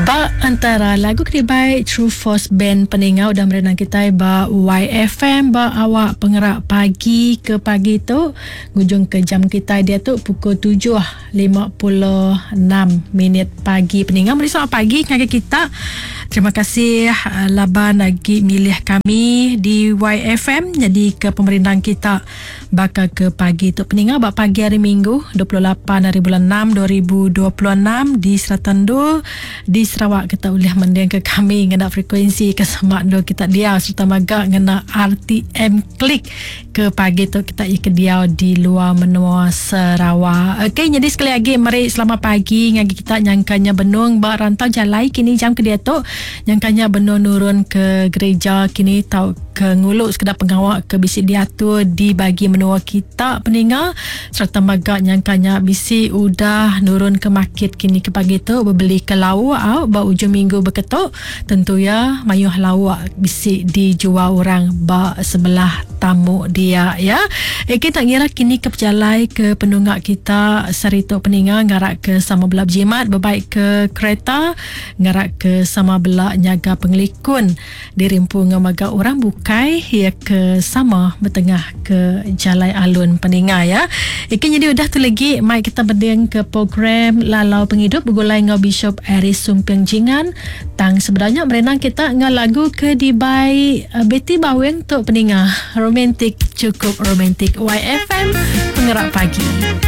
Ba entara lagu ke dibai True Force Band peninga udah merenang kitai ba YFM ba awak pengerak pagi ke pagi tu ngujung ke jam kitai diatu pukul 7.56 minit pagi peninga meri selamat pagi ngagai kita. Terima kasih laban agi milih kami di YFM nyadi ke pemerindang kita Baka ke pagi tu peninga ba pagi hari Minggu 28 hari bulan 6 2026 di serata endur di Sarawak kita ulih mendingka kami ngena frekuensi ke semak endur kita diau sereta mega ngena RTM Click ke pagi tu kita iya ke diau di luar menua Sarawak. Okey nyadi sekali agi meri selamat pagi ngagai kita nyangka nya benung ba rantau jalai kini jam ke diatu nyangka nya benung nurun ke gereja kini tau ke ngulu sekeda pengawa ke bisi diatur di bagi menua kita peninga sereta mega nyangka nya bisi udah nurun ke market kini ke pagi tu bebeli ke lauk au ba ujung minggu beketu tentu iya mayuh lauk bisi dijual orang ba sebelah tamu dia ya. Eki tak ngira kini ke pejalai ke penunga kita sehari tu peninga ngarak ke sama bela bejimat bebaik ke kereta ngarak ke sama bela nyaga pengelikun Dirimpu enggau mega orang bukai iya ke sama betengah ke jalai alun peninga ya. Ika nyadi udah tu legi mai kita beding ke program Lalau Pengidup begulai enggau Bishop Aris Sumping Jingan. Tang sebedau nya merenang kita enggau lagu ke dibai eh, Betty Bawing tu peninga. Romantik cukup romantik YFM Pengerak Pagi.